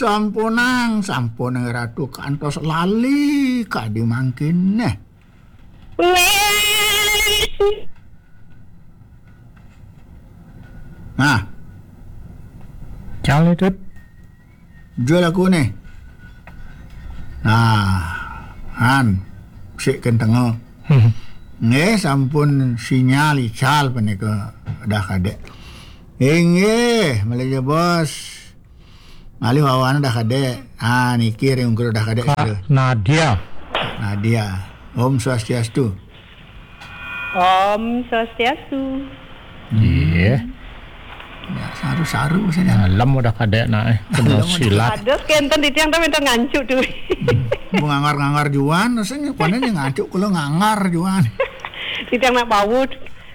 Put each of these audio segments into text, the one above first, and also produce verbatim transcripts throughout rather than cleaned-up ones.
Sampunang, sampunang Ratu kantos lali kadi mangkin neh. Nah, Cang nih, Tut. Jul aku nih. Nah, han, sik kentengel. Nggih, sampun sinyal ical punika Udah Kadek. Inggih, malih jebos. Malih wawan Udah Kadek. Ah, niki ring ungkur Udah Kadek. Kak Nadia. Nadia. Om Swastiastu. Om Swastiastu. Iya. Ya, saru-saru saja. Nah, lem Udah Kadek nak, eh. Kena silat. Ada kenten di tiang tapi minta ngancu tuh. Bu ngangar-ngangar juan, rasanya kono nih ngancu kalau ngangar juan. Di tiang nak bau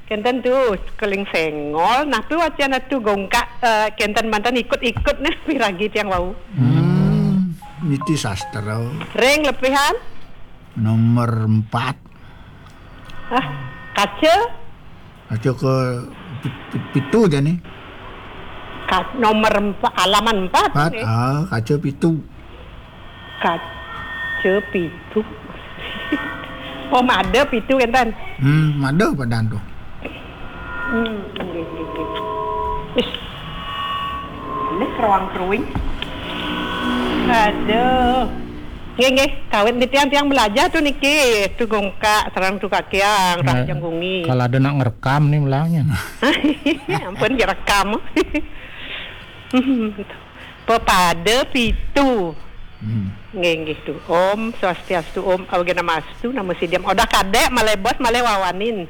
kenten tuh keling sengol, nah tuh wacan tuh gongkak, eh, kenten mantan ikut-ikut nih piragi tiang bau. Hmm, niti sastra. Ring lepihan? Nomor empat. Ah, kaca? Kaca ke pi-, pi-, pitu jani. Ka-, nomor empat, halaman empat. Empat, nih. Ah, kaca pitu. Kaca pitu. Oh, mada pitu kenten. Hmm, mada padan tuh. Hmm, nggih, nggih, nggih. Ih. Ini keruang-keruing. Aduh. Nggih, nggih, kawit di tiang-tiang belajar tuh niki, tuh gongkak, serang tuh kakiang, nah, rah janggungi. Kalau ada nak ngerekam nih melangnya. Ampun, direkam. Pepada pitu. Hmm. Nggih, nggih tuh. Om Swastiastu, Om Awighnam Astu, Namo Siddham. Udah Kadek, malih bos, malih wawanin.